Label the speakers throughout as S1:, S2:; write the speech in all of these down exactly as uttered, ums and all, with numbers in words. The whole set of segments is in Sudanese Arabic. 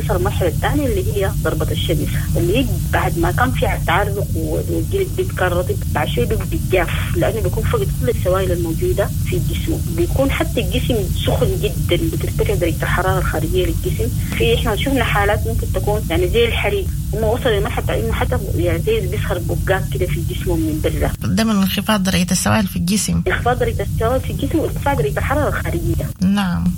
S1: بتصل المرحلة الثانية اللي هي ضربة الشمس، اللي هي بعد ما كان في تعرق والجلد كان رطب، بعد شوي بيبقى جاف لأنه بيكون فقد كل السوائل الموجودة في الجسم، بيكون حتى الجسم سخن جدا، بترتفع درجة الحرارة الخارجية للجسم. في احنا شفنا حالات ممكن تكون يعني زي الحريق، هم وصل لمرحلة انه حتى يعني زي بيظهر بقات كده في جسمه من برا.
S2: ده من انخفاض درجة السوائل في الجسم.
S1: انخفاض درجة السوائل في الجسم وارتفاع درجة الحرارة الخارجية.
S2: نعم.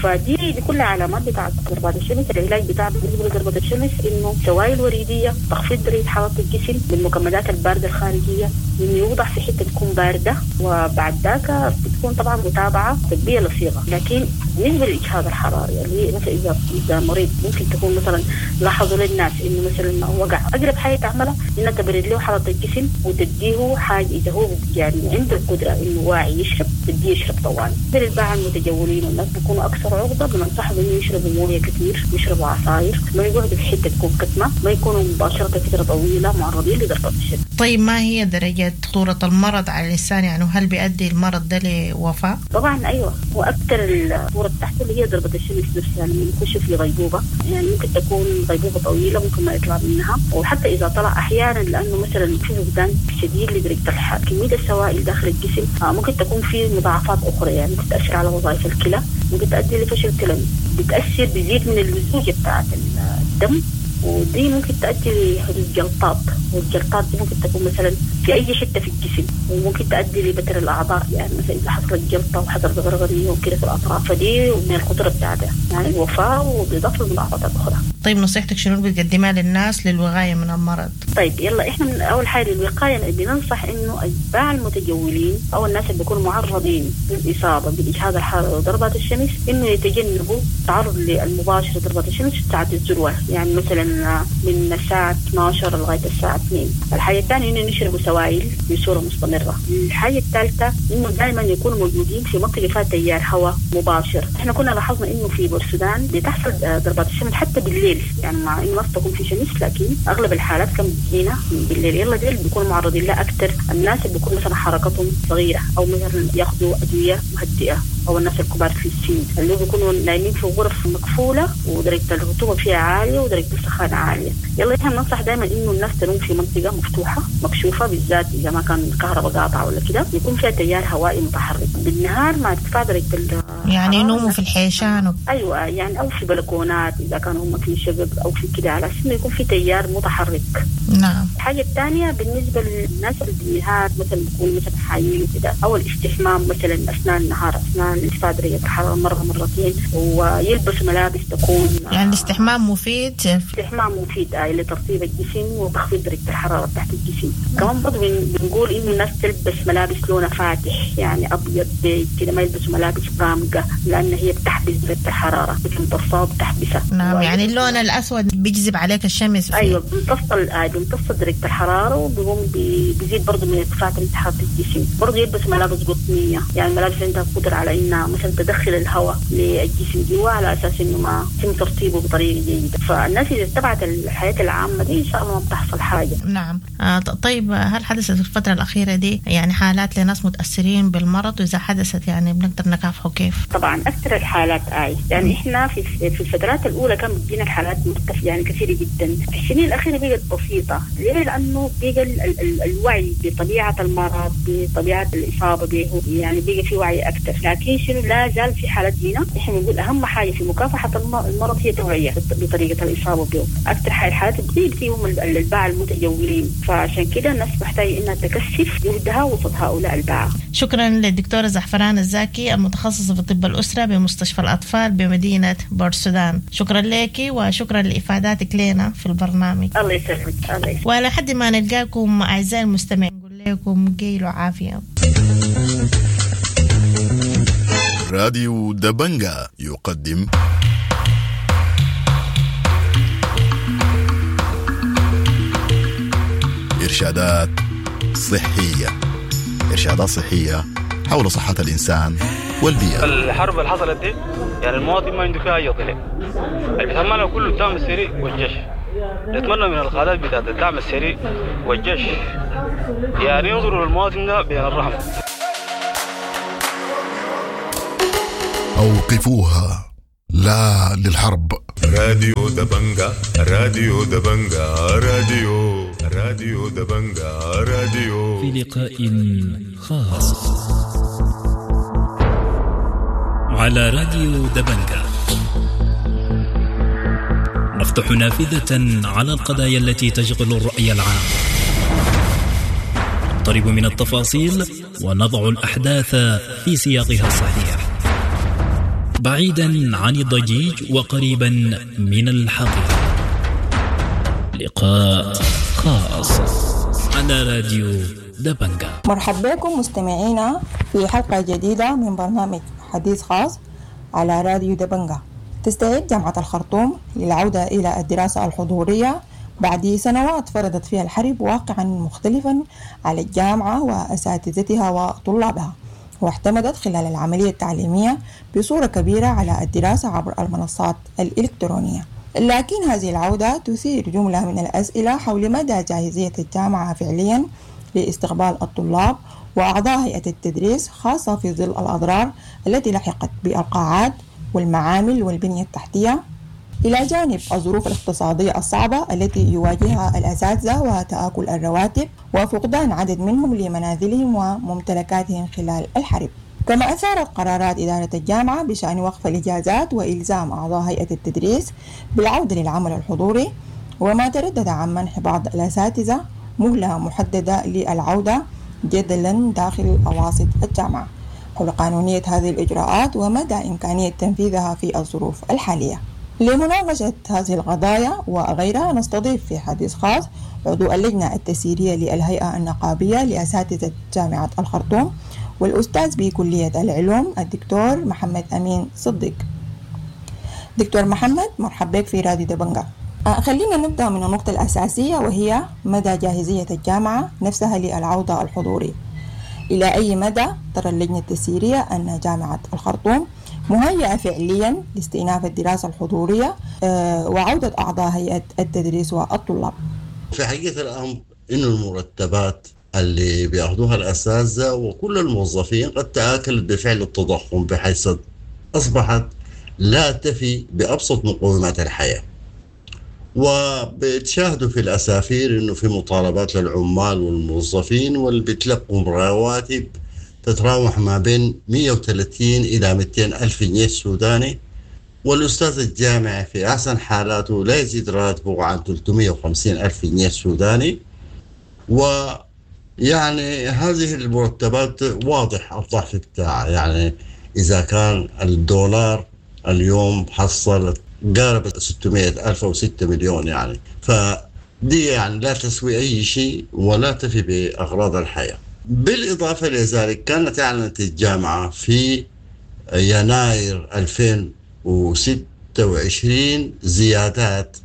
S1: فدي دي كلها علامات بتاعت ضربات الشمس. العلاج بتاع بالنسبة لضربة الشمس انه سوائل وريديه، تخفيض درجه حرارة الجسم بالمكمدات البارده الخارجية، انه يوضع في حتة تكون باردة، وبعد ذاك بتكون طبعا متابعه طبية لصيغه. لكن بالنسبة للاجهاد الحراري اللي مثلا اذا اذا مريض ممكن تكون مثلا لاحظوا للناس انه مثلا وقع، اقرب حاجة تعملها انها تبرد له حرارة الجسم وتديه حاجة اذا هو يعني عنده القدرة انه واعي يشرب، تديه يشرب طوال. للباعة المتجولين والناس بيكونوا اكثر عرضه، بننصحهم انه يشربوا مويه كثير، يشربوا عصاير، ما يقعدوا في حتة تكون كتمه، ما يكونوا مباشرة فترة طويلة معرضين لضربه الشمس.
S2: طيب ما هي درجه خطورة المرض على الانسان؟ يعني هل بيؤدي المرض ده لوفاه؟
S1: طبعا ايوه، واكثر الخطورة بتاعته اللي هي ضربه الشمس نفسها، لما يخش في غيبوبة، يعني ممكن تكون غيبوبة طويلة ممكن ما يطلع منها، وحتى اذا طلع احيانا لانه مثلا في فقدان شديد لدرجة الحرارة، كمية السوائل داخل الجسم ممكن تكون في مضاعفات اخرى، يعني ممكن تاثر على وظائف الكلى، ممكن تؤدي لفشل كلوي، بتأثر بيزيد من اللزوجة بتاعت الدم، ودي ممكن تؤدي لحدوث جلطات، والجلطات دي ممكن تكون مثلا في أي حتة في الجسم، وممكن تؤدي لبتر الأعضاء، يعني مثلا إذا حصلت جلطة وحصلت غرغرية وكده في الأطراف، فدي من الخطورة بتاعتها يعني الوفاة وبإضافة للمضاعفات الأخرى.
S2: طيب نصيحتك شنو بتقدمها للناس للوقاية من المرض؟
S1: طيب يلا إحنا من أول حاجة للوقاية بننصح إنه الباعة المتجولين أو الناس اللي بيكونوا معرضين للإصابة بالإجهاد الحراري وضربات الشمس إنه يتجنبوا التعرض المباشر لضربات الشمس في ساعة الذروة، يعني مثلا من الساعة اثنا عشر لغاية الساعة اثنين. الحاجة الثانية إنه يشربوا سوائل بصورة مستمرة. الحاجة الثالثة إنه دائما يكونوا موجودين في منطقة فيها تيار هواء مباشر. إحنا كنا لاحظنا إنه في بورسودان بتحصل ضربات الشمس حتى بالليل، يعني مع إنه ما تكون في شمس لكن أغلب الحالات كان بتجينا بالليل. يلا ديل بيكونوا معرضين لها أكثر الناس اللي بيكون مثلا حركتهم صغيرة أو مثلا ياخذوا أدوية مهدئة، أو الناس الكبار في السن اللي بيكونوا نايمين في غرف مقفولة ودرجة الرطوبة فيها عالية ودرجة السخانة عالية. يلا إحنا بننصح دائما إنه الناس تنوم في منطقة مفتوحة مكشوفة، بالذات إذا ما كان الكهرباء قاطعة ولا كده، يكون فيها تيار هوائي متحرك بالنهار مع ارتفاع درجة ال
S2: يعني ينوموا في الحيشان و...
S1: أيوة، يعني أو في بلكونات إذا كانوا هم في شقق أو في كده، على أساس إنه يكون في تيار متحرك.
S2: نعم.
S1: الحاجة الثانية بالنسبة للناس اللي بالنهار مثلا بيكونوا مثلا حايمين وكده، أو الاستحمام مثلا أثناء النهار أثناء ارتفاع درجة الحرارة مرة مرتين، ويلبسوا ملابس تكون
S2: يعني الاستحمام مفيد.
S1: الاستحمام مفيد آه لترطيب الجسم وتخفيض درجة الحرارة تحت الجسم. كمان برضه بنقول إنه الناس تلبس ملابس لونها فاتح، يعني أبيض بيج كده، ما يلبسوا ملابس غامقة لأن هي بتحبس درجة الحرارة، بتمتصها وبتحبسها.
S2: نعم، يعني اللون الأسود بيجذب عليك الشمس.
S1: أيوة، بيمتص بيمتص درجة الحرارة وبيقوم بيزيد برضه من ارتفاع درجة حرارة الجسم. برضه يلبس ملابس قطنية، يعني ملابس عندها قدرة على إنها مثلا تدخل الهواء للجسم جوا على أساس إنه ما يتم ترطيبه بطريقة جيدة. فالناس إذا اتبعت الحياة العامة دي إن شاء الله ما بتحصل حاجة.
S2: نعم. آه طيب هل حدثت في الفترة الأخيرة دي يعني حالات لناس متأثرين بالمرض، وإذا حدثت يعني بنقدر نكافحه كيف؟
S1: طبعا أكثر الحالات آي يعني إحنا في في الفترات الأولى كان بتجينا الحالات مرتفعة يعني كثيرة جدا، في السنين الأخيرة بقت بسيطة. ليه؟ لأنه بقى ال ال الوعي بطبيعة المرض بطبيعة الإصابة به، يعني بقى في وعي أكثر. لكن شنو لا زال في حالات هنا إحنا بنقول أهم حاجة في مكافحة المرض هي توعية بطريقة الإصابة به. أكثر حاجة الحالات بتجي فيهم الباعة المتجولين، فعشان كده الناس محتاجة إنها تكثف جهدها وسط هؤلاء الباعة.
S2: شكرا للدكتورة زعفران الزاكي المتخصصة في طب الأسرة بمستشفى الأطفال بمدينة بورسودان. شكرا لك وشكرا لإفاداتك لنا في البرنامج.
S1: الله يسلمك. الله يسلمك.
S2: ولحد ما نلقاكم أعزائي المستمعين نقول لكم قيل وعافية.
S3: راديو دبنجا يقدم إرشادات صحية، إرشادات صحية حول صحة الإنسان والبيئة.
S4: الحرب اللي حصلت دي يعني المواطن ما عنده فيها أي طلع، اللي بيتحملها كله الدعم السريع والجيش. نتمنى من القادات بتاعت الدعم السريع والجيش يعني ينظروا للمواطن ده بين الرحمة.
S3: أوقفوها، لا للحرب.
S5: راديو دبنجا، راديو دبنجا، راديو راديو دبنجا، راديو.
S6: في لقاء خاص على راديو دبنجا نفتح نافذة على القضايا التي تشغل الرأي العام، نقترب من التفاصيل ونضع الأحداث في سياقها الصحيح، بعيدا عن الضجيج وقريبا من الحقيقة. لقاء خاص على راديو دبنجا.
S7: مرحبا بكم مستمعينا في حلقة جديدة من برنامج حديث خاص على راديو دبنجا. تستعد جامعة الخرطوم للعودة إلى الدراسة الحضورية بعد سنوات فرضت فيها الحرب واقعا مختلفا على الجامعة وأساتذتها وطلابها، واعتمدت خلال العملية التعليمية بصورة كبيرة على الدراسة عبر المنصات الإلكترونية. لكن هذه العودة تثير جملة من الأسئلة حول مدى جاهزية الجامعة فعليا لاستقبال الطلاب وأعضاء هيئة التدريس، خاصة في ظل الأضرار التي لحقت بالقاعات والمعامل والبنية التحتية، إلى جانب الظروف الاقتصادية الصعبة التي يواجهها الأساتذة وتآكل الرواتب وفقدان عدد منهم لمنازلهم وممتلكاتهم خلال الحرب. كما أثارت قرارات إدارة الجامعة بشأن وقف الإجازات وإلزام أعضاء هيئة التدريس بالعودة للعمل الحضوري، وما تردد عن منح بعض الأساتذة مهلة محددة للعودة جدلا داخل أواسط الجامعة حول قانونية هذه الإجراءات ومدى إمكانية تنفيذها في الظروف الحالية. لمناقشة هذه القضايا وغيرها نستضيف في حديث خاص عضو اللجنة التسييرية للهيئة النقابية لأساتذة جامعة الخرطوم والأستاذ بكلية العلوم الدكتور محمد أمين صديق. دكتور محمد، مرحبا بك في راديو دبنجا. خلينا نبدأ من النقطة الأساسية وهي مدى جاهزية الجامعة نفسها للعودة الحضورية. إلى أي مدى ترى اللجنة التسييرية أن جامعة الخرطوم مهيئة فعليا لاستئناف الدراسة الحضورية وعودة أعضاء هيئة التدريس والطلاب؟
S8: في حقيقة الأمر إنه المرتبات اللي بياخذوها الأساتذة وكل الموظفين قد تآكلت بفعل التضخم، بحيث أصبحت لا تفي بأبسط مقومات الحياة. وبتشاهدوا في الأسافير إنه في مطالبات للعمال والموظفين واللي بيتلقوا رواتب تتراوح ما بين مئة وثلاثين إلى مئتين ألف جنيه سوداني، والأستاذ الجامعي في أحسن حالاته لا يزيد راتبه عن ثلاثمئة وخمسين ألف جنيه سوداني. ويعني هذه المرتبات واضح الضعف بتاعها، يعني إذا كان الدولار اليوم حصل قارب ستمئة ألف أو ستة مليون، يعني فدي يعني لا تسوي أي شيء ولا تفي بأغراض الحياة. بالإضافة لذلك كانت أعلنت الجامعة في يناير ألفين وستة وعشرين زيادات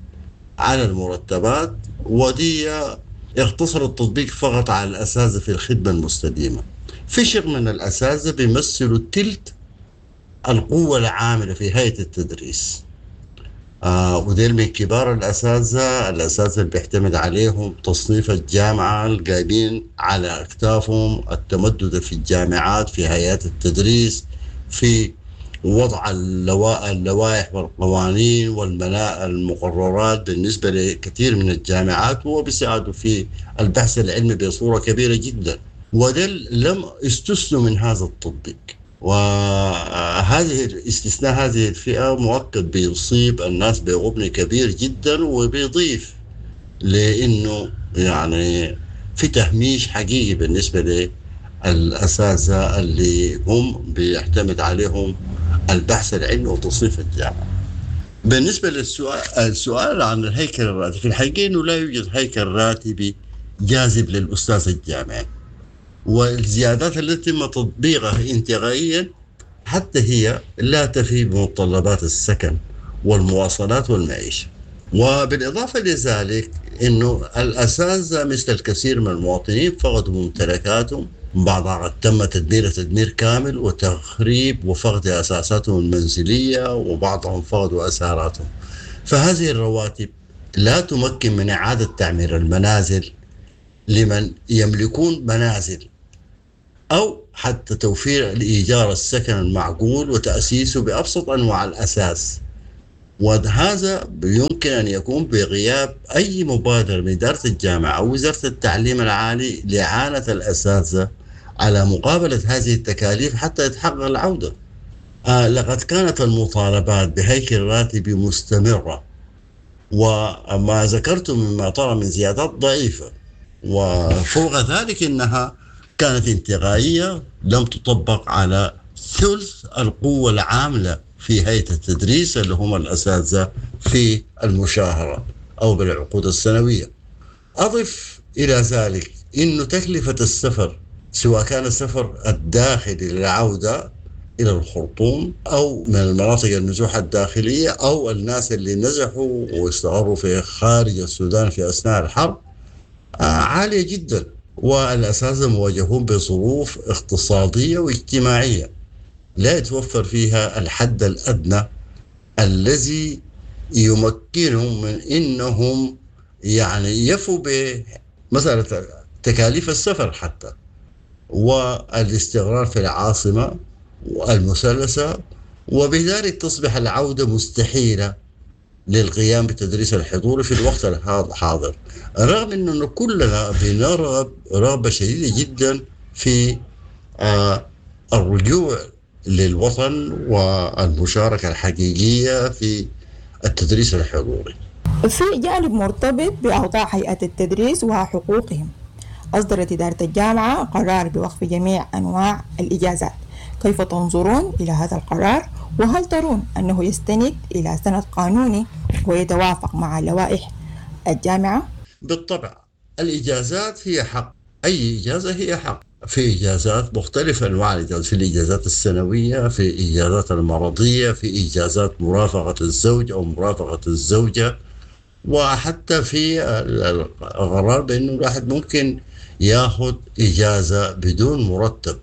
S8: على المرتبات، ودي اختصر التطبيق فقط على الأساتذة في الخدمة المستديمة. في شق من الأساتذة بيمثلوا تلت القوة العاملة في هيئة التدريس، آه وديل من كبار الأساتذة، الأساتذة اللي بيعتمد عليهم تصنيف الجامعة، القايمين على أكتافهم التمدد في الجامعات، في هيئات التدريس، في وضع اللوائح والقوانين والملاء المقررات بالنسبة لكثير من الجامعات، وبيساعدوا في البحث العلمي بصورة كبيرة جدا. وديل لم استثنوا من هذا التطبيق، وهذه استثناء هذه الفئة مؤكد بيصيب الناس بغبن كبير جدا، وبيضيف لأنه يعني في تهميش حقيقي بالنسبة للأساتذة اللي هم بيعتمد عليهم البحث العلمي وتصنيف الجامعة. بالنسبة للسؤال السؤال عن الهيكل الراتبي، في الحقيقة أنه لا يوجد هيكل راتبي جاذب للأستاذ الجامعي، والزيادات التي تم تطبيقها انتقائيا حتى هي لا تفي بمتطلبات السكن والمواصلات والمعيشة. وبالإضافة لذلك أنه الأساتذة مثل الكثير من المواطنين فقدوا ممتلكاتهم، بعضها قد تم تدمير تدمير كامل وتخريب وفقد أساساتهم المنزلية، وبعضهم فقدوا أساراتهم. فهذه الرواتب لا تمكن من إعادة تعمير المنازل لمن يملكون منازل، أو حتى توفير الإيجار السكن المعقول وتأسيسه بأبسط أنواع الأساس وهذا يمكن أن يكون بغياب أي مبادرة من إدارة الجامعة أو وزارة التعليم العالي لإعانة الأساتذة على مقابلة هذه التكاليف حتى يتحقق العودة. آه لقد كانت المطالبات بهيكل راتبي مستمرة، وما ذكرته مما طرأ من زيادات ضعيفة، وفوق ذلك إنها كانت انتقائية لم تطبق على ثلث القوة العاملة في هيئة التدريس اللي هم الأساتذة في المشاهرة أو بالعقود السنوية. أضف إلى ذلك إنه تكلفة السفر، سواء كان السفر الداخلي للعودة إلى الخرطوم أو من المناطق النزوح الداخلية أو الناس اللي نزحوا واستقروا في خارج السودان في أثناء الحرب، عالية جدا، والأساتذة مواجهون بظروف اقتصادية واجتماعية لا يتوفر فيها الحد الأدنى الذي يمكنهم من إنهم يعني يفوا بمسألة تكاليف السفر حتى والاستقرار في العاصمة والمثلثة، وبذلك تصبح العودة مستحيلة للقيام بتدريس الحضور في الوقت الحاضر، رغم أنه كلنا بنرغب رغبة شديدة جدا في آه الرجوع للوطن والمشاركة الحقيقية في التدريس الحضوري.
S7: في جانب مرتبط بأوضاع هيئة التدريس وحقوقهم، أصدرت إدارة الجامعة قرار بوقف جميع أنواع الإجازات. كيف تنظرون إلى هذا القرار؟ وهل ترون أنه يستند إلى سند قانوني ويتوافق مع لوائح الجامعة؟
S8: بالطبع الإجازات هي حق، أي إجازة هي حق. في إجازات مختلفة أنواع الإجازات، في الإجازات السنوية، في إجازات المرضية، في إجازات مرافقة الزوج أو مرافقة الزوجة، وحتى في القرار بأنه الواحد ممكن ياخذ إجازة بدون مرتب.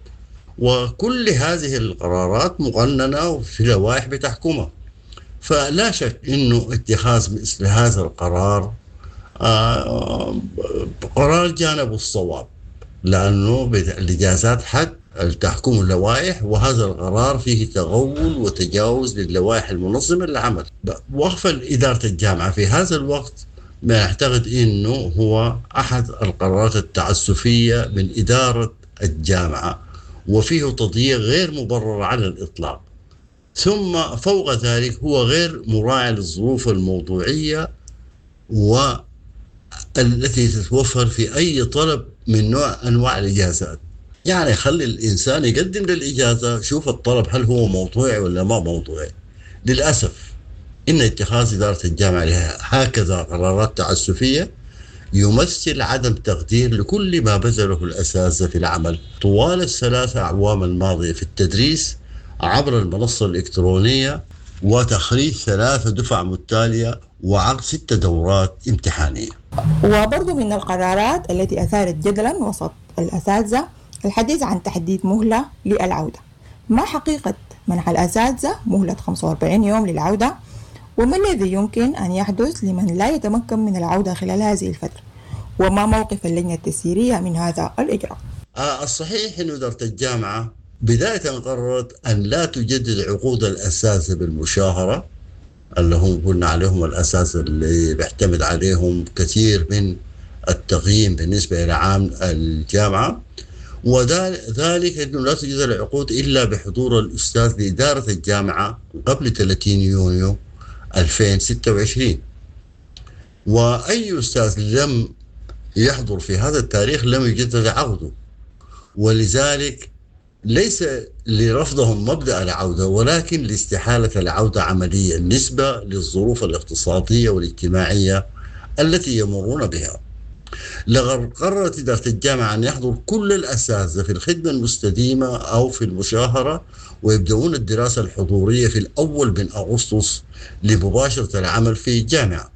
S8: وكل هذه القرارات مقننة وفي لوائح بتحكمها. فلا شك أنه اتخاذ مثل هذا القرار آه قرار جانب الصواب، لأنه الإجازات حق تحكم اللوائح، وهذا القرار فيه تغول وتجاوز للوائح المنظمة للعمل. وقف إدارة الجامعة في هذا الوقت ما أعتقد أنه هو أحد القرارات التعسفية من إدارة الجامعة، وفيه تضييق غير مبرر على الإطلاق. ثم فوق ذلك هو غير مراعي للظروف الموضوعية والتي تتوفر في أي طلب من نوع أنواع الإجازات. يعني خلي الإنسان يقدم للإجازة، شوف الطلب هل هو موضوعي ولا ما موضوعي. للأسف إن اتخاذ إدارة الجامعة هكذا قرارات تعسفية يمثل عدم تقدير لكل ما بذله الأساتذة في العمل طوال الثلاثة أعوام الماضية في التدريس عبر المنصة الإلكترونية وتخريج ثلاثة دفع متتالية وعقد ست دورات امتحانية.
S7: وبرضو من القرارات التي أثارت جدلا وسط الأساتذة الحديث عن تحديد مهلة للعودة. ما حقيقة منح الأساتذة مهلة خمسة وأربعين يوم للعودة؟ وما الذي يمكن أن يحدث لمن لا يتمكن من العودة خلال هذه الفترة؟ وما موقف اللجنة التسييرية من هذا الإجراء؟
S8: آه الصحيح أن إدارة الجامعة بداية قررت أن لا تجدد عقود الأساتذة بالمشاهرة اللي هم قلنا عليهم الأساتذة اللي بيعتمد عليهم كثير من التقييم بالنسبة إلى عام الجامعة، وذلك أنه لا تجدد العقود إلا بحضور الأستاذ لإدارة الجامعة قبل ثلاثين يونيو ألفين وستة وعشرين، وأي أستاذ لم يحضر في هذا التاريخ لم يجدد عقده. ولذلك ليس لرفضهم مبدأ العودة، ولكن لاستحالة العودة عمليا نسبة للظروف الاقتصادية والاجتماعية التي يمرون بها. لقد قررت إدارة الجامعة أن يحضر كل الأساتذة في الخدمة المستديمة أو في المشاهرة ويبدأون الدراسة الحضورية في الأول من أغسطس لمباشرة العمل في الجامعة.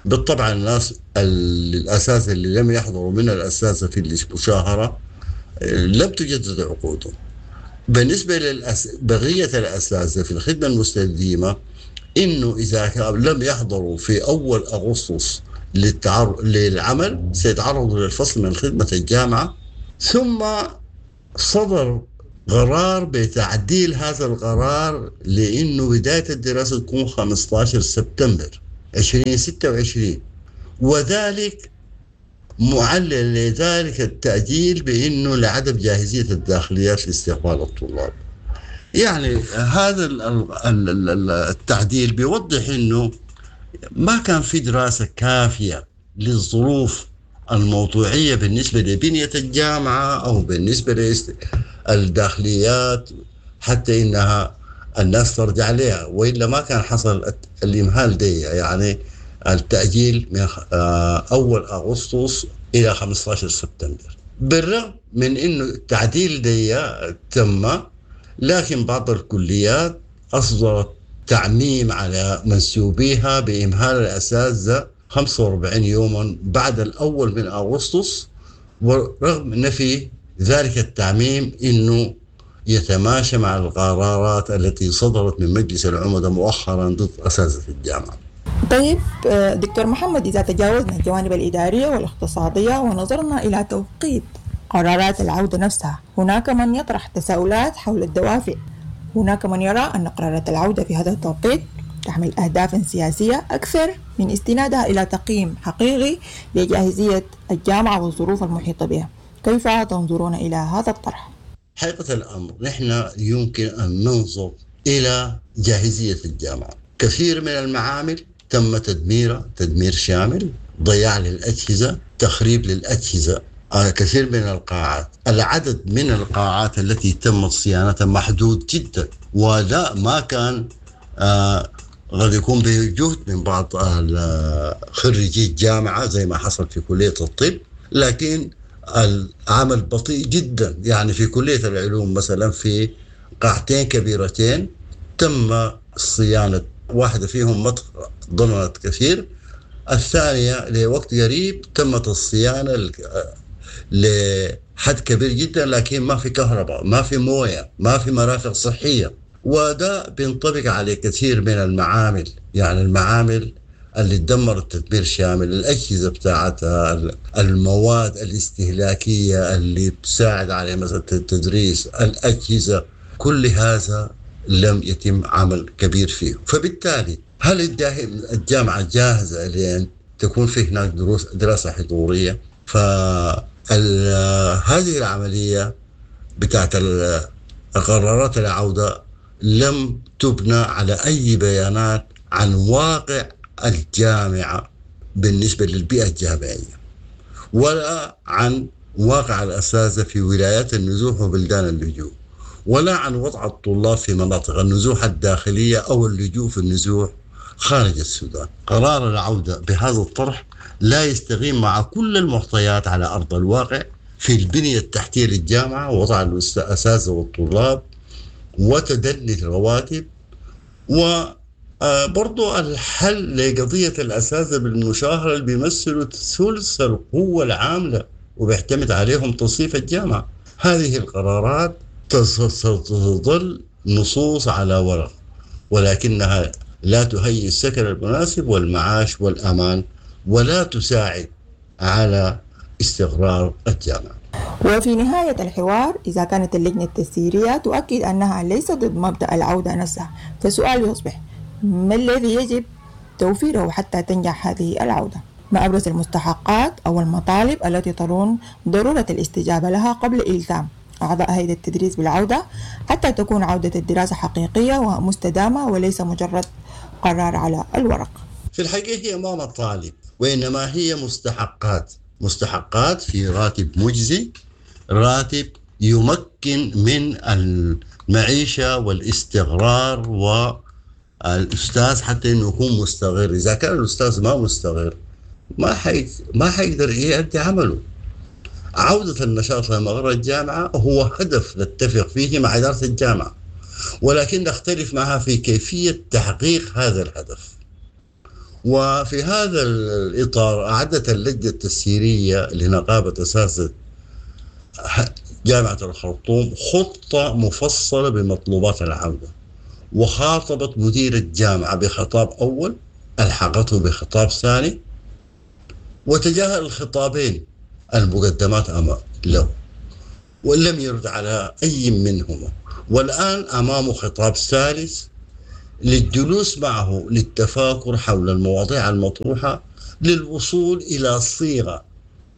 S8: بالطبع الناس الأساتذة اللي لم يحضروا من الأساتذة في المشاهرة لم تجدد عقودهم. بالنسبة لبقية الأساتذة في الخدمة المستديمة، إنه إذا لم يحضروا في أول أغسطس للتعر... للعمل سيتعرضوا للفصل من خدمة الجامعة. ثم صدر قرار بتعديل هذا القرار لأنه بداية الدراسة تكون خمسة عشر سبتمبر ألفين وستة وعشرين، وذلك معلل لذلك التأجيل بأنه لعدم جاهزية الداخليات لاستقبال الطلاب. يعني هذا التعديل بيوضح انه ما كان في دراسة كافيه للظروف الموضوعية بالنسبة لبنيه الجامعة او بالنسبة للداخليات حتى انها الناس ترجع لها، والا ما كان حصل الامهال دي، يعني التاجيل من آه، اول اغسطس الى خمسة عشر سبتمبر. بالرغم من انه التعديل دي تم، لكن بعض الكليات اصدرت تعميم على منسوبيها بامهال الاساتذة خمسة وأربعين يوما بعد الاول من اغسطس، ورغم نفي ذلك التعميم انه يتماشى مع القرارات التي صدرت من مجلس العمداء مؤخرا ضد اساتذة الجامعة.
S7: طيب آه، دكتور محمد، إذا تجاوزنا الجوانب الإدارية والاقتصادية ونظرنا إلى توقيت قرارات العودة نفسها، هناك من يطرح تساؤلات حول الدوافع. هناك من يرى أن قرارات العودة في هذا التوقيت تحمل أهدافا سياسية أكثر من استنادها إلى تقييم حقيقي لجاهزية الجامعة والظروف المحيطة بها. كيف تنظرون إلى هذا الطرح؟
S8: حقيقة الأمر، نحن يمكن أن ننظر إلى جاهزية الجامعة. كثير من المعامل تم تدميرها تدمير شامل، ضياع للأجهزة، تخريب للأجهزة آه، كثير من القاعات، العدد من القاعات التي تمت صيانتها محدود جدا، ولا ما كان آه قد يكون بجهد من بعض خريجي الجامعة زي ما حصل في كلية الطب، لكن العمل بطيء جدا. يعني في كلية العلوم مثلا في قاعتين كبيرتين تم صيانة واحدة فيهم ما تضررت كثير، الثانية لوقت قريب تمت الصيانة لحد كبير جدا، لكن ما في كهرباء، ما في مويه، ما في مرافق صحيه. وده بينطبق على كثير من المعامل، يعني المعامل اللي تدمرت تدمير شامل، الأجهزة بتاعتها، المواد الاستهلاكية اللي بتساعد على مثلا التدريس، الأجهزة، كل هذا لم يتم عمل كبير فيه. فبالتالي هل الجامعة جاهزة لأن تكون في هناك دروس دراسة حضورية؟ فهذه العملية بتاعت قرارات العودة لم تبنى على أي بيانات عن واقع الجامعة بالنسبة للبيئة الجامعية، ولا عن واقع الأساتذة في ولايات النزوح وبلدان اللجوء، ولا عن وضع الطلاب في مناطق النزوح الداخلية أو اللجوء في النزوح خارج السودان. قرار العودة بهذا الطرح لا يستقيم مع كل المعطيات على أرض الواقع في البنية التحتية للجامعة ووضع الأساتذة والطلاب وتدني الرواتب، وبرضو الحل لقضية الأساتذة بالمشاهرة اللي بيمثلوا ثلث القوة العاملة وبيعتمد عليهم تصنيف الجامعة. هذه القرارات ستظل نصوص على ورق، ولكنها لا تهيئ السكن المناسب والمعاش والأمان، ولا تساعد على استقرار الجامعة.
S7: وفي نهاية الحوار، إذا كانت اللجنة التسييرية تؤكد أنها ليست ضد مبدأ العودة نفسها، فالسؤال يصبح: ما الذي يجب توفيره حتى تنجح هذه العودة؟ ما أبرز المستحقات أو المطالب التي ترون ضرورة الاستجابة لها قبل إلزام أعضاء هيئة التدريس بالعودة، حتى تكون عودة الدراسة حقيقية ومستدامة وليس مجرد قرار على الورق؟
S8: في الحقيقة هي ما مطالب، وإنما هي مستحقات، مستحقات في راتب مجزي، راتب يمكن من المعيشة والاستقرار، والأستاذ حتى إنه يكون مستقر. إذا كان الأستاذ ما مستقر ما حي ما حيقدر يؤدي عمله. عودة النشاط لمقر الجامعة هو هدف نتفق فيه مع إدارة الجامعة، ولكن نختلف معها في كيفية تحقيق هذا الهدف. وفي هذا الإطار أعدت اللجنة التسييرية لنقابة أساتذة جامعة الخرطوم خطة مفصلة بمطلوبات العودة، وخاطبت مدير الجامعة بخطاب أول ألحقته بخطاب ثاني، وتجاهل الخطابين المقدمات أمام له. ولم يرد على أي منهما. والآن أمامه خطاب ثالث للجلوس معه للتفاكر حول المواضيع المطروحة للوصول إلى صيغة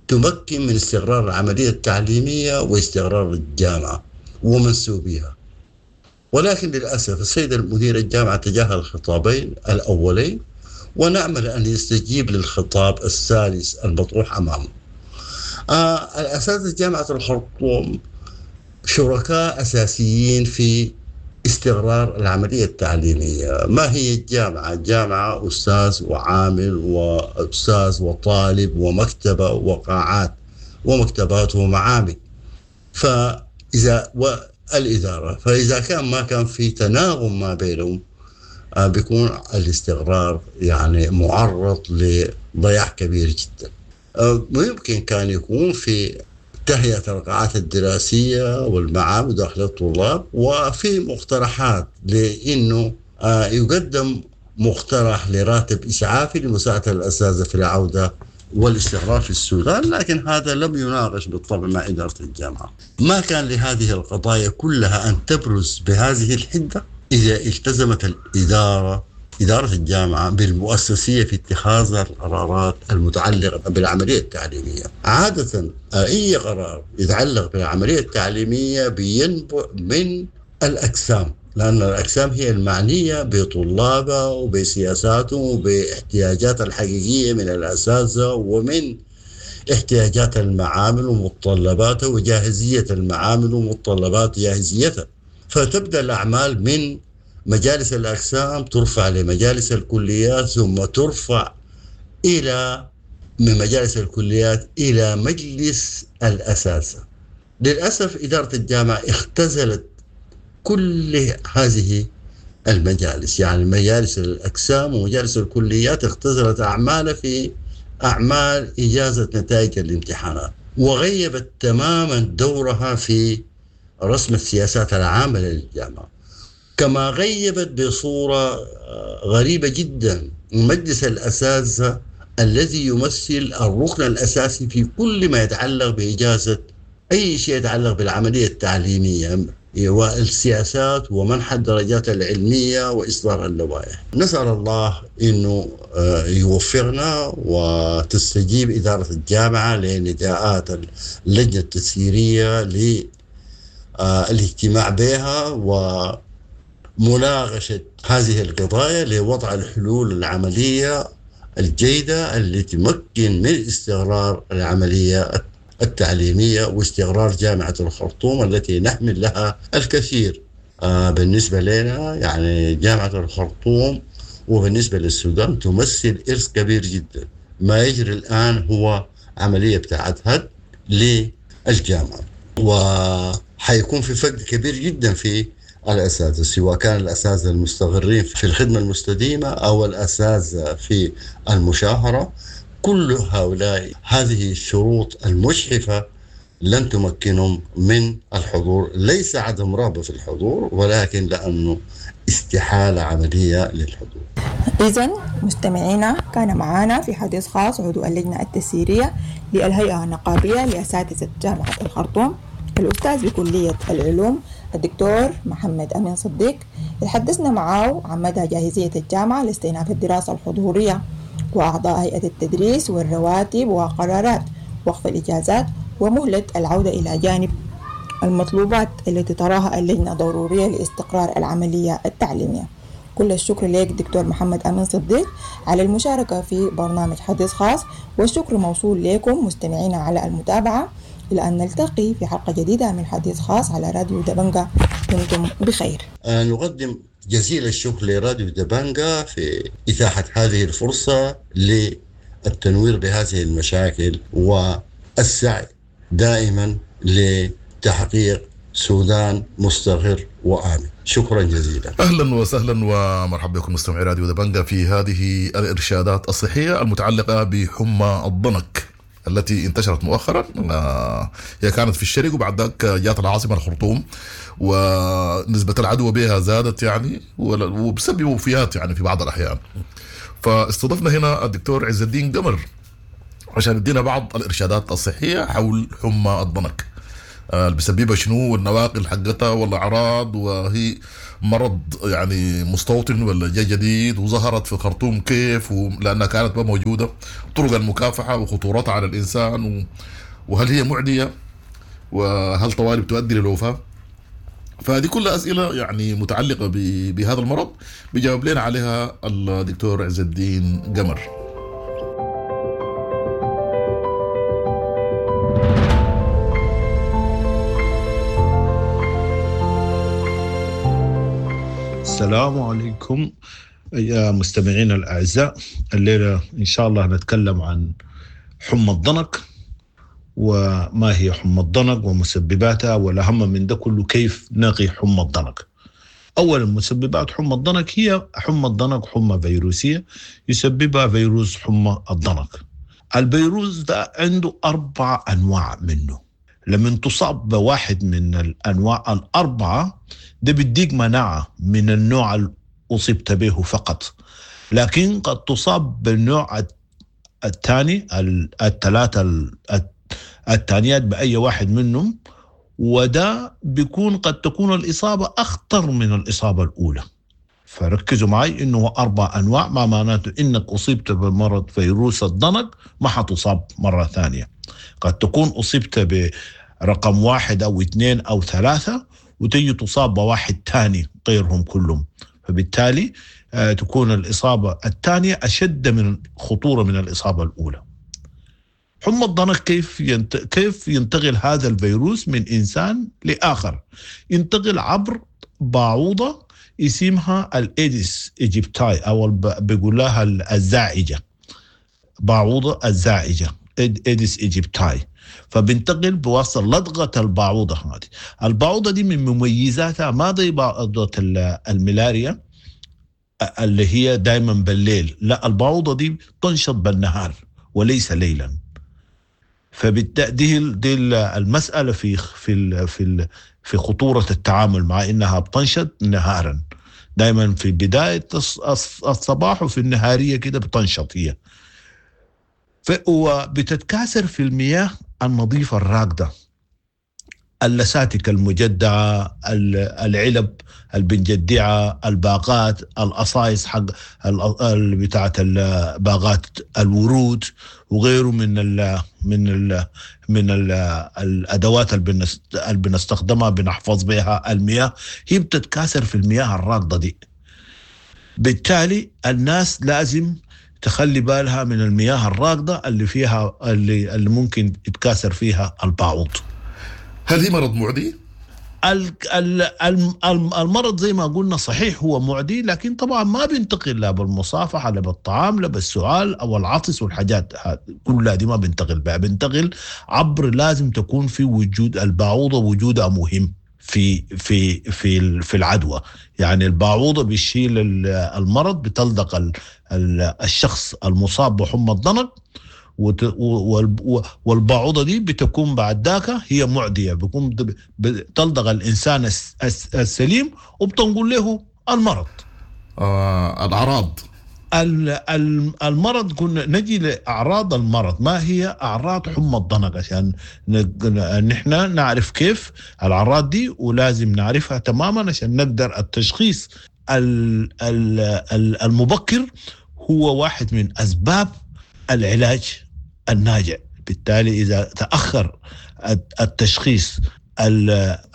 S8: تمكن من استقرار العملية التعليمية واستقرار الجامعة ومنسوبيها. ولكن للأسف السيد المدير الجامعة تجاهل الخطابين الأولين، ونأمل أن يستجيب للخطاب الثالث المطروح أمامه. آه الأساتذة جامعة الخرطوم شركاء أساسيين في استقرار العملية التعليمية. ما هي الجامعة؟ الجامعة أستاذ وعامل وأستاذ وطالب ومكتبة وقاعات ومكتبات ومعامل. فإذا والإدارة، فإذا كان ما كان في تناغم ما بينهم آه بيكون الاستقرار يعني معرض لضياع كبير جدا. آه ويمكن كان يكون في تهيئة القاعات الدراسية والمعامل داخل الطلاب، وفي مقترحات لأنه آه يقدم مقترح لراتب إسعافي لمساعدة الأساتذة في العودة والاستقرار في السودان، لكن هذا لم يناقش بالطبع مع إدارة الجامعة. ما كان لهذه القضايا كلها أن تبرز بهذه الحدة إذا التزمت الإدارة إدارة الجامعة بالمؤسسية في اتخاذ القرارات المتعلقة بالعملية التعليمية. عادة أي قرار يتعلق بالعملية التعليمية بينبع من الأقسام، لأن الأقسام هي المعنية بطلابها وبسياساتهم وباحتياجات الحقيقية من الأساتذة ومن احتياجات المعامل ومتطلباتها وجاهزية المعامل ومتطلبات جاهزيتها. فتبدأ الأعمال من مجالس الأقسام، ترفع لمجالس الكليات، ثم ترفع إلى من مجالس الكليات إلى مجلس الأساتذة. للأسف إدارة الجامعة اختزلت كل هذه المجالس، يعني مجالس الأقسام ومجالس الكليات اختزلت أعمالها في أعمال إجازة نتائج الامتحانات، وغيبت تماما دورها في رسم السياسات العامة للجامعة. كما غيبت بصورة غريبة جدا مجلس الأساتذة الذي يمثل الركن الأساسي في كل ما يتعلق بإجازة أي شيء يتعلق بالعملية التعليمية والسياسات ومنح الدرجات العلمية وإصدار اللوائح. نسأل الله أنه يوفقنا وتستجيب إدارة الجامعة لنداءات اللجنة التسييرية للاجتماع بها ومناقشة هذه القضايا لوضع الحلول العملية الجيدة اللي تمكن من استقرار العملية التعليمية واستقرار جامعة الخرطوم التي نحمل لها الكثير. آه بالنسبة لنا يعني جامعة الخرطوم وبالنسبة للسودان تمثل إرث كبير جدا. ما يجري الآن هو عملية بتاعت هد للجامعة، وحيكون في فرق كبير جدا في الأساتذة، سواء كان الأساتذة المستغرين في الخدمة المستديمة أو الأساتذة في المشاهرة. كل هؤلاء هذه الشروط المجحفة لن تمكنهم من الحضور، ليس عدم رغبة في الحضور ولكن لأنه استحالة عملية للحضور.
S7: إذن مستمعينا، كان معنا في حديث خاص عضو اللجنة التسييرية للهيئة النقابية لأساتذة جامعة الخرطوم الأستاذ بكلية العلوم الدكتور محمد أمين صديق. تحدثنا معه عن مدى جاهزية الجامعة لاستئناف الدراسة الحضورية وأعضاء هيئة التدريس والرواتب وقرارات وقف الإجازات ومهلة العودة إلى جانب المطلوبات التي تراها اللجنة ضرورية لاستقرار العملية التعليمية. كل الشكر لك دكتور محمد أمين صديق على المشاركة في برنامج حديث خاص، والشكر موصول لكم مستمعينا على المتابعة. إلى أن نلتقي في حلقة جديدة من حديث خاص على راديو دبنجا، دمتم بخير.
S8: نقدم جزيل الشكر لراديو دبنجا في إتاحة هذه الفرصة للتنوير بهذه المشاكل والسعي دائما لتحقيق سودان مستقر وآمن. شكرا جزيلا.
S9: اهلا وسهلا ومرحبا بكم مستمعي راديو دبنجا في هذه الارشادات الصحيه المتعلقه بحمى الضنك التي انتشرت مؤخرا. هي كانت في الشرق وبعد ذاك جات العاصمه الخرطوم، ونسبه العدوى بها زادت يعني وبسبب وفيات يعني في بعض الاحيان. فاستضفنا هنا الدكتور عز الدين قمر عشان يدينا بعض الارشادات الصحيه حول حمى الضنك. اللي بيسببها شنو والنواقل حقتها والاعراض، وهي مرض يعني مستوطن ولا جاي جديد، وظهرت في الخرطوم كيف لانها كانت ما موجودة، طرق المكافحه وخطورتها على الانسان و... وهل هي معدية وهل طوالي بتؤدي للوفاه. فهذه كلها اسئلة يعني متعلقه ب... بهذا المرض بيجاوب لنا عليها الدكتور عز الدين قمر.
S10: السلام عليكم يا مستمعينا الأعزاء. الليلة إن شاء الله نتكلم عن حمى الضنك، وما هي حمى الضنك ومسبباتها، والأهم من ده كله كيف نقي حمى الضنك. أولا، مسببات حمى الضنك هي حمى الضنك حمى فيروسية يسببها فيروس حمى الضنك. الفيروس ده عنده أربع أنواع منه، لما تصاب بواحد من الأنواع الأربعة ده بيديك مناعة من النوع اللي أصبت به فقط، لكن قد تصاب بالنوع الثاني، الثلاثة الثانيات بأي واحد منهم، وده بيكون قد تكون الإصابة أخطر من الإصابة الأولى. فركزوا معي إنه أربع أنواع، ما معناته إنك أصبت بمرض فيروس الضنك ما حتصاب مرة ثانية. قد تكون أصبت برقم واحد أو اثنين أو ثلاثة وتجي تصاب بواحد ثاني غيرهم كلهم، فبالتالي تكون الإصابة الثانية أشد من خطورة من الإصابة الأولى. حمى الضنك كيف ينت... كيف ينتقل هذا الفيروس من إنسان لآخر؟ ينتقل عبر باعوضة اسمها ال Aedes aegypti، أو بيقول لها الزاعجة، باعوضة الزاعجة Aedes aegypti. فبنتقل بواسطة لدغة الباعوضة هذه. الباعوضة دي من مميزاتها ما زي باعوضة الملاريا اللي هي دايما بالليل، لا، الباعوضة دي تنشط بالنهار وليس ليلا. فبالتالي دي المسألة في في في في خطورة التعامل مع إنها بتنشط نهارا، دايما في بداية الصباح وفي النهارية كده بتنشط هي، وبتتكاثر في المياه النظيفة الراكدة، اللساتك المجدعة، العلب البنجدعة، الباقات، القصايص حق بتاعة باغات الورود وغيره من ال من ال من ال الأدوات اللي بنستخدمها بنحفظ بها المياه، هي بتتكاثر في المياه الراكدة دي. بالتالي الناس لازم تخلي بالها من المياه الراكدة اللي فيها اللي, اللي ممكن يتكاثر فيها الباعوض.
S9: هل هي مرض معدي؟
S10: المرض زي ما قلنا صحيح هو معدي، لكن طبعا ما بينتقل لا بالمصافحة لا بالطعام لا بالسعال أو العطس والحاجات كلها دي ما بينتقل بها. بينتقل عبر، لازم تكون في وجود الباعوضة، وجودها مهم في في في في العدوى. يعني الباعوضة بتشيل المرض، بتلدق الشخص المصاب بحمى الضنك، والباعوضة دي بتكون بعد ذاك هي معدية، بيكون بتلدغ الإنسان السليم وبتنقل له المرض.
S9: آه، الأعراض
S10: المرض، قلنا نجي لأعراض المرض. ما هي أعراض حمى الضنك عشان نحن نعرف كيف الأعراض دي، ولازم نعرفها تماما عشان نقدر التشخيص المبكر هو واحد من أسباب العلاج الناجع. بالتالي إذا تأخر التشخيص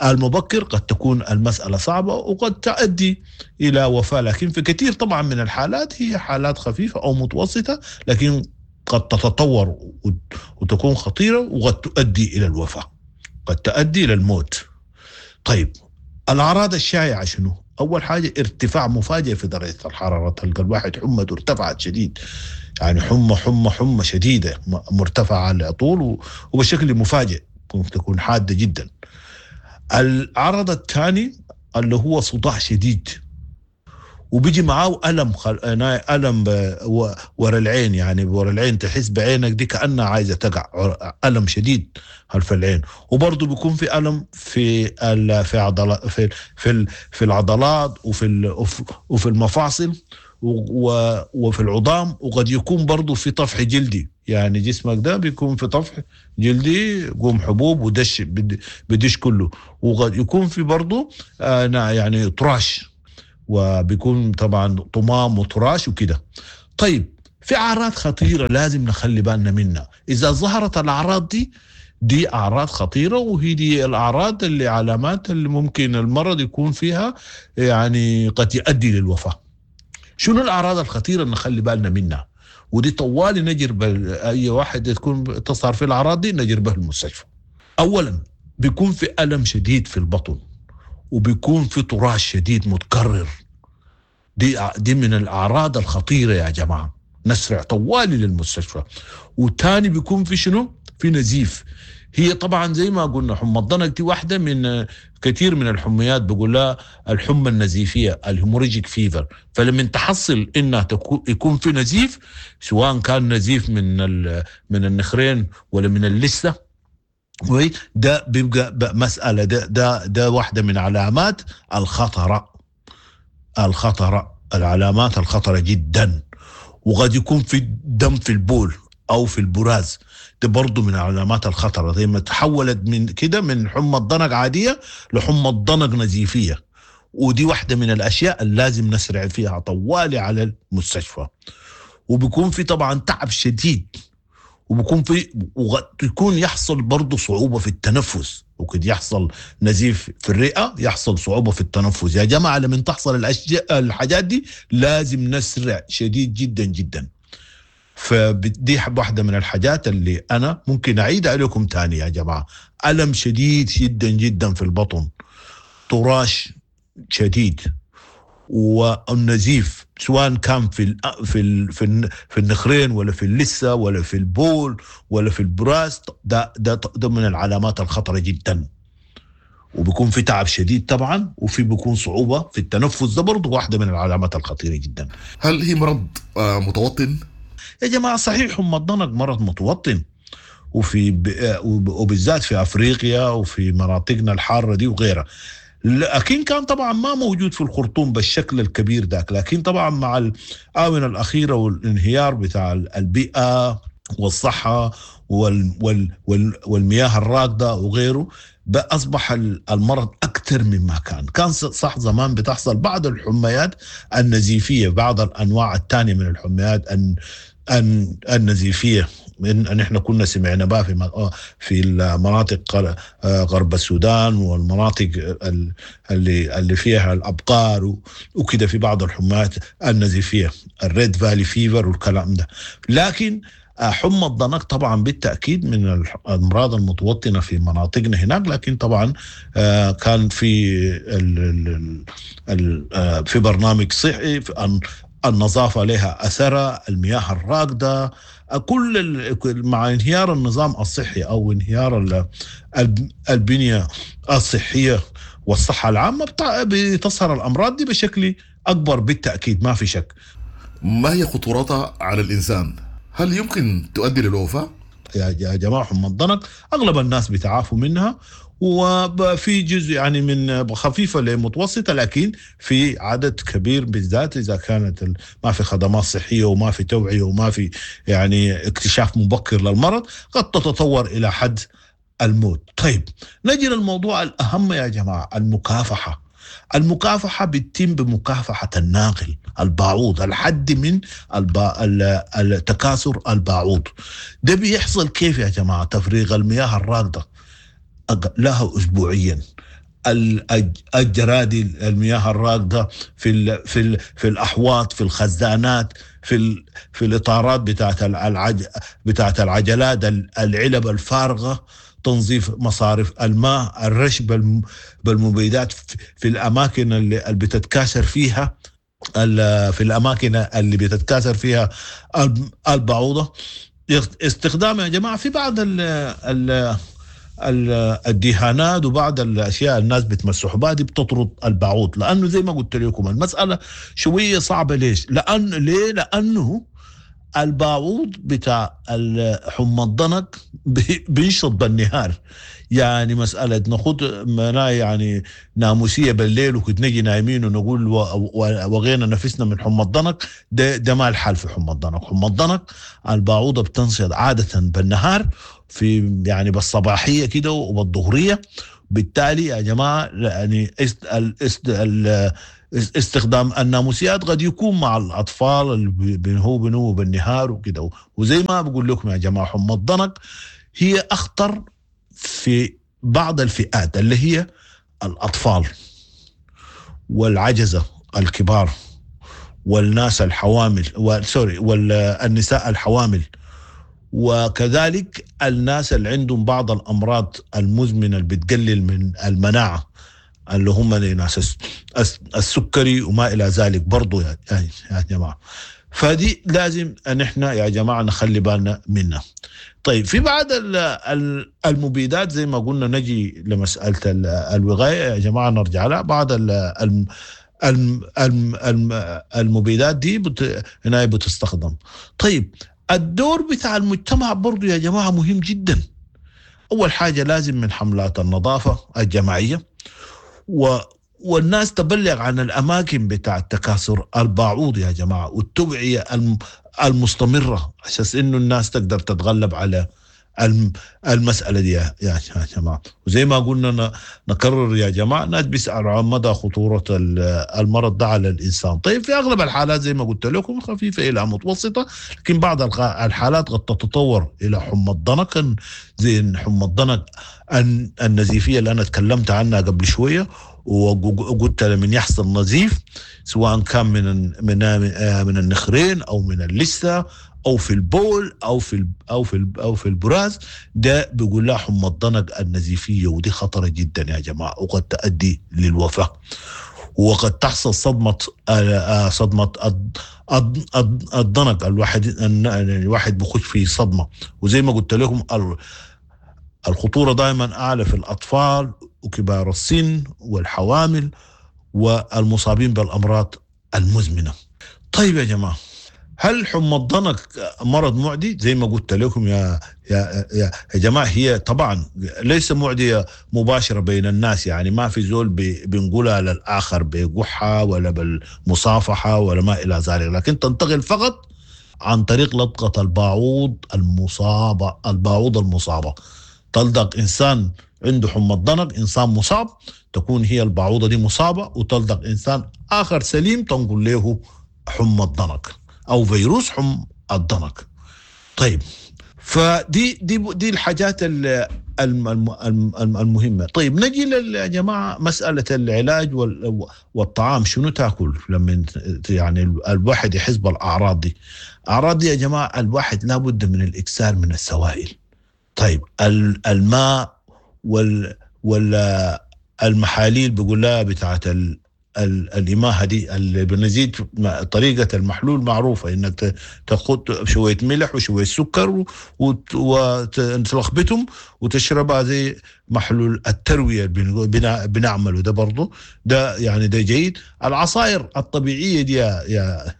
S10: المبكر قد تكون المسألة صعبة وقد تؤدي إلى وفاة، لكن في كثير طبعا من الحالات هي حالات خفيفة أو متوسطة، لكن قد تتطور وتكون خطيرة وقد تؤدي إلى الوفاة، قد تؤدي إلى الموت. طيب الأعراض الشائعة شنو؟ أول حاجة ارتفاع مفاجئ في درجة الحرارة، تلقى الواحد حمته ارتفعت شديد، يعني حمى حمى حمى شديدة مرتفعة على طول وبشكل مفاجئ، ممكن تكون حادة جدا. العرض الثاني اللي هو صداع شديد، وبيجي معاه ألم خل... ألم ب... ورا العين، يعني ورا العين تحس بعينك دي كأنها عايزة تقع، ألم شديد خلف العين. وبرضه بيكون في ألم في ال... في عضلات في في, ال... في العضلات وفي ال... وفي المفاصل، وفي العظام، وقد يكون برضو في طفح جلدي، يعني جسمك ده بيكون في طفح جلدي قوم حبوب ودش بدش كله، وقد يكون في برضو آه يعني طراش، وبيكون طبعا طمام وطراش وكده. طيب في أعراض خطيرة لازم نخلي بالنا منها، إذا ظهرت الأعراض دي دي أعراض خطيرة، وهي دي الأعراض اللي علامات اللي ممكن المرض يكون فيها يعني قد يؤدي للوفاة. شنو الأعراض الخطيرة اللي نخلي بالنا منها؟ ودي طوالي نجرب أي واحد تكون تظهر في الأعراض دي نجربه المستشفى. أولا بيكون في ألم شديد في البطن، وبيكون في طراش شديد متكرر. دي دي من الأعراض الخطيرة يا جماعة، نسرع طوالي للمستشفى. وتاني بيكون في شنو؟ في نزيف. هي طبعا زي ما قلنا حمى الضنك دي واحدة من كثير من الحميات، بقول لها الحمى النزيفية ال hemorrhagic fever. فلما تحصل انها يكون في نزيف، سواء كان نزيف من من النخرين ولا من اللثة، ده بيبقى مسألة، ده ده ده واحدة من علامات الخطرة، الخطرة العلامات الخطرة جدا. وقد يكون في دم في البول أو في البراز، ده برضو من علامات الخطرة. زي ما تحولت من كده من حمى الضنك عادية لحمى الضنك نزيفية، ودي واحدة من الأشياء اللي لازم نسرع فيها طوالي على المستشفى. وبيكون في طبعا تعب شديد، وبيكون في ويكون يحصل برضو صعوبة في التنفس، وقد يحصل نزيف في الرئة، يحصل صعوبة في التنفس. يا جماعة لما تحصل الأشياء الحاجات دي لازم نسرع شديد جدا جدا. فدي واحدة من الحاجات اللي أنا ممكن أعيد عليكم تاني يا جماعة. ألم شديد جدا جدا في البطن، طراش شديد، والنزيف سواء كان في ال في ال في, ال في النخرين ولا في اللثة ولا في البول ولا في البراز، ده ده ده من العلامات الخطرة جدا. وبيكون في تعب شديد طبعا، وفي بيكون صعوبة في التنفس، ده برضه واحدة من العلامات الخطيرة جدا.
S9: هل هي مرض متوطن؟
S10: يا جماعة صحيح حمى الضنك مرض متوطن، وفي وبالذات في أفريقيا وفي مناطقنا الحارة دي وغيرها، لكن كان طبعا ما موجود في الخرطوم بالشكل الكبير ذاك. لكن طبعا مع الآونة الأخيرة والانهيار بتاع البيئة والصحة وال وال وال والمياه الراكدة وغيره، أصبح المرض أكثر مما كان. كان صح زمان بتحصل بعض الحميات النزيفية، بعض الأنواع الثانية من الحميات النزيفية، من نحن كنا سمعنا بها في في المناطق غرب السودان والمناطق اللي اللي فيها الابقار وكده، في بعض الحمات النزيفيه ال Red Valley fever والكلام ده. لكن حمى الضنك طبعا بالتاكيد من الامراض المتوطنه في مناطقنا هناك، لكن طبعا كان في ال ال في برنامج صحي، النظافة لها اثرها، المياه الراكده، كل مع انهيار النظام الصحي او انهيار البنية الصحية والصحة العامة بتظهر الامراض دي بشكل اكبر بالتاكيد، ما في شك.
S9: ما هي خطورتها على الانسان؟ هل يمكن تؤدي للوفاه؟
S10: يا جماعة حمى الضنك اغلب الناس بيتعافوا منها، وفي جزء يعني من خفيفة لمتوسطة، لكن في عدد كبير بالذات إذا كانت ما في خدمات صحية وما في توعية وما في يعني اكتشاف مبكر للمرض، قد تتطور إلى حد الموت. طيب نجي للموضوع الأهم يا جماعة، المكافحة. المكافحة بتتم بمكافحة الناقل الباعوض، الحد من الب... التكاثر الباعوض. ده بيحصل كيف يا جماعة؟ تفريغ المياه الراكدة لها أسبوعيا، الجرادي المياه الراكدة في ال في ال في الأحواض، في الخزانات، في ال في الإطارات بتاعت العج بتاعت العجلات، العلب الفارغة، تنظيف مصارف الماء، الرش بالمبيدات في الأماكن اللي بتتكاثر فيها في الأماكن اللي بتتكاثر فيها البعوضة. استخدام يا جماعة في بعض ال ال الدهانات وبعض الاشياء الناس بتمسحوا بها دي بتطرد البعوض، لانه زي ما قلت لكم المسالة شوية صعبة. ليش؟ لان ليه؟ لانه الباعوض بتاع حمى الضنك بينشط بالنهار، يعني مسألة ناخد منا يعني ناموسية بالليل وكنت نجي نايمين ونقول وغينا نفسنا من حمى الضنك، ده, ده ما الحال في حمى الضنك. حمى الضنك الباعوضة بتنشط عادة بالنهار في يعني بالصباحية كده وبالظهرية. بالتالي يا جماعة يعني استخدام الناموسيات قد يكون مع الأطفال اللي هو بنو بالنهار وكده. وزي ما بقول لكم يا جماعة حمى الضنك هي أخطر في بعض الفئات اللي هي الأطفال والعجزة الكبار والناس الحوامل سوري والنساء الحوامل، وكذلك الناس اللي عندهم بعض الأمراض المزمنة اللي بتقلل من المناعة اللي هم ناس السكري وما إلى ذلك برضو يا جماعة. فدي لازم أن احنا يا جماعة نخلي بالنا منها. طيب في بعض المبيدات زي ما قلنا نجي لمسألة الوقاية يا جماعة نرجع لها. بعض المبيدات دي بت... هنا بتستخدم. طيب الدور بتاع المجتمع برضو يا جماعة مهم جدا. أول حاجة لازم من حملات النظافة الجماعية و... والناس تبلغ عن الأماكن بتاع التكاثر الباعوض يا جماعة، والتوعية المستمرة عشان إنه الناس تقدر تتغلب على المسألة دي يا جماعة. وزي ما قلنا نكرر يا جماعة، الناس بيسألوا عن مدى خطورة المرض ده على الإنسان. طيب في أغلب الحالات زي ما قلت لكم خفيفة إلى متوسطة، لكن بعض الحالات قد تتطور إلى حمى الضنك زي حمى الضنك النزيفية اللي أنا تكلمت عنها قبل شوية، وقلت لمن يحصل نزيف سواء كان من من من النخرين أو من اللثة او في البول او في او في او في البراز، ده بيقول لها حمى الضنك النزيفيه، ودي خطره جدا يا جماعه وقد تؤدي للوفاه، وقد تحصل صدمه صدمه الضنك. الواحد الواحد بخش في صدمه، وزي ما قلت لكم الخطوره دائما اعلى في الاطفال وكبار السن والحوامل والمصابين بالامراض المزمنه. طيب يا جماعه، هل حمى الضنك مرض معدي؟ زي ما قلت لكم يا يا يا جماعه هي طبعا ليس معديه مباشره بين الناس، يعني ما في زول بنقولها للاخر بقحه ولا بالمصافحه ولا ما الى ذلك، لكن تنتقل فقط عن طريق لدغه الباعوض المصابه. الباعوض المصابه تلدغ انسان عنده حمى الضنك، انسان مصاب، تكون هي الباعوضه دي مصابه، وتلدغ انسان اخر سليم تنقل له حمى الضنك او فيروس حمى الضنك. طيب فدي دي دي الحاجات المهمه. طيب نجي يا جماعه مساله العلاج والطعام، شنو تاكل لما يعني الواحد يحس بالاعراض دي؟ اعراض دي يا جماعه الواحد لابد من الاكثار من السوائل. طيب الماء وال والمحاليل بيقول لها بتاعت ال الإماهة دي اللي بنزيد طريقة المحلول معروفة، إنك تاخد شوية ملح وشوية سكر وتلخبطهم وتشربها زي محلول التروية بنعمله ده برضو، ده يعني ده جيد. العصائر الطبيعية دي يا, يا,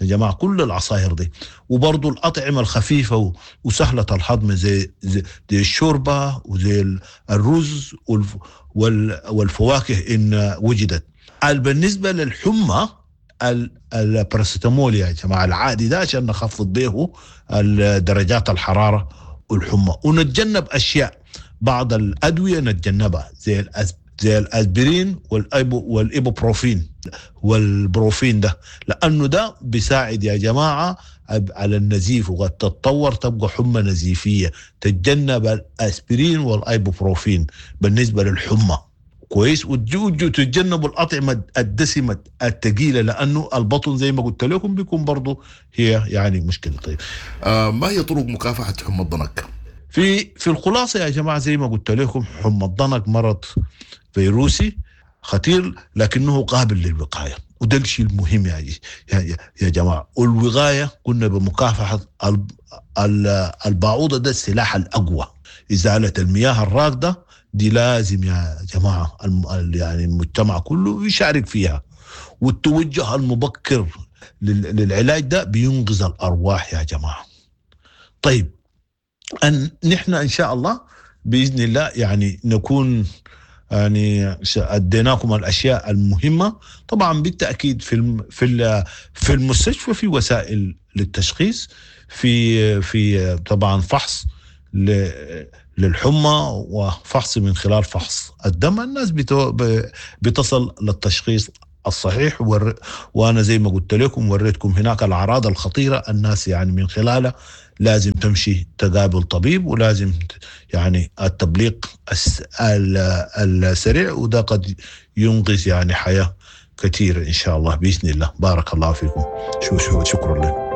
S10: يا جماعة كل العصائر دي، وبرضو الأطعمة الخفيفة وسهلة الهضم زي, زي, زي الشوربة وزي الرز والفواكه إن وجدت. بالنسبة للحمى الباراسيتامول يا جماعة العادي ده عشان نخفض به درجات الحرارة والحمى، ونتجنب أشياء بعض الأدوية نتجنبها زي زي الأسبرين والأيبو والإيبوبروفين والبروفين ده، لأنه ده بيساعد يا جماعة على النزيف وقد تتطور تبقى حمى نزيفية. تتجنب الأسبرين والإيبوبروفين بالنسبة للحمى كويس، وتتجنبوا الأطعمة الدسمة الثقيلة لأنه البطن زي ما قلت لكم بيكون برضو هي يعني مشكلة. طيب
S9: آه ما هي طرق مكافحة حمى الضنك؟
S10: في في الخلاصة يا جماعة زي ما قلت لكم حمى الضنك مرض فيروسي خطير لكنه قابل للوقاية، وده الشيء المهم يا يا يا جماعة. والوقاية قلنا بمكافحة البعوضة، ده السلاح الأقوى. إزالة المياه الراكدة دي لازم يا جماعة يعني المجتمع كله يشارك فيها، والتوجه المبكر للعلاج ده بينقذ الأرواح يا جماعة. طيب أن نحن إن شاء الله بإذن الله يعني نكون يعني أديناكم الأشياء المهمة. طبعا بالتأكيد في في في المستشفى في وسائل للتشخيص، في في طبعا فحص للحمى وفحص من خلال فحص الدم. الناس بتصل للتشخيص الصحيح، ور... وانا زي ما قلت لكم وريتكم هناك الاعراض الخطيره، الناس يعني من خلالها لازم تمشي تقابل طبيب، ولازم يعني التبليغ الس... السريع، وده قد ينقذ يعني حياه كثيره ان شاء الله باذن الله. بارك الله فيكم، شو شو شكرا لكم.